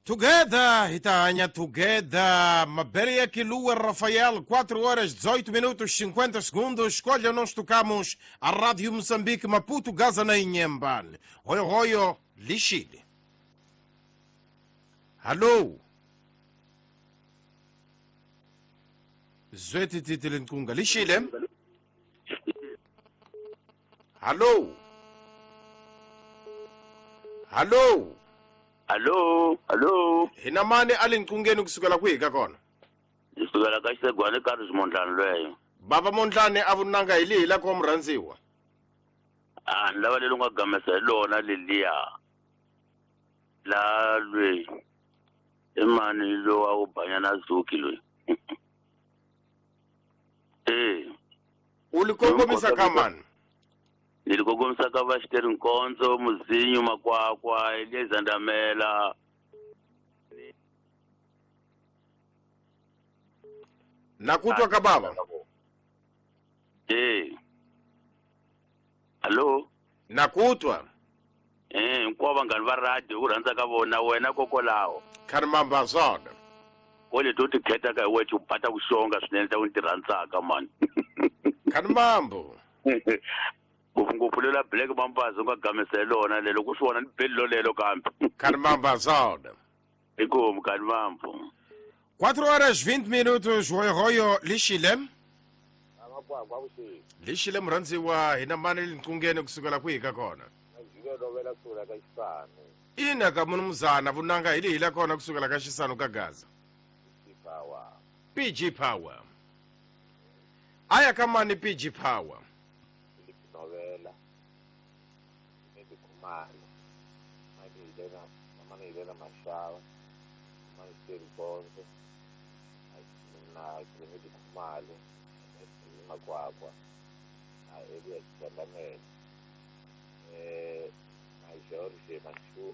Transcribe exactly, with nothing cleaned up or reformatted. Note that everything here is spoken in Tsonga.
Together, Itaanya together. Maberia Kilua Rafael, quatro horas dezoito minutos cinquenta segundos. Escolha, nós tocamos a Rádio Moçambique, Maputo, Gaza, na Inhambane. Roio, roio, Lixile. Alô? Zweti titile nkunga. Lixile? Alô? Alô? Alô, alô. Hina mani alinkungeni kusukela kwihi ka kona? Kusukela ka Xisegwani Carlos Mondlane lweyo. Baba Mondlane a vunanga hi lihi la ko murhandziwa? Ah, ni lava leri nga gamesa hi lona leliya. La lweyi. I mani lowa a wu banyana Zuki loyi. Eh. U li kongomisa ka mani? Ni li kongomisa ka va Xiteri Nkonzo, Muzinyu Makwakwa, Eliezer Ndamela. Na kutwa ka baba? Eh. Allo? Na kutwa? Eh, hinkwavo vanghani va radio ku rhandza ka vona wena kokolaho. Kharimamba swona. Ko leti u ti khetaka hi wexe u bata ku xonga swinene ta ku ni ti rhandzaka mani. Kharimambo. Ngopfungopfu lela Black Mambazo u nga gamisa hi lona lelo ku swi vona ni beli lolelo kambe. Kharimamba swona. Inkomu Kharimambo. quatro horas vinte minutos, royo royo lixile. Lixile murhandziwa hina mani linkungeni kusukela kwihi ka kona? Ina ka munumuzana vunanga hi lihi la kona kusukela ka Xisanu ka Gaza. P G Power. Aya ka mani P G Power? Novela. Kumalo. Mani mani Elena Mashava, mani Xiteri Nkonzo, na Clement Khumalo, Makwakwa, na Elias Ndamela, eh na George Mashu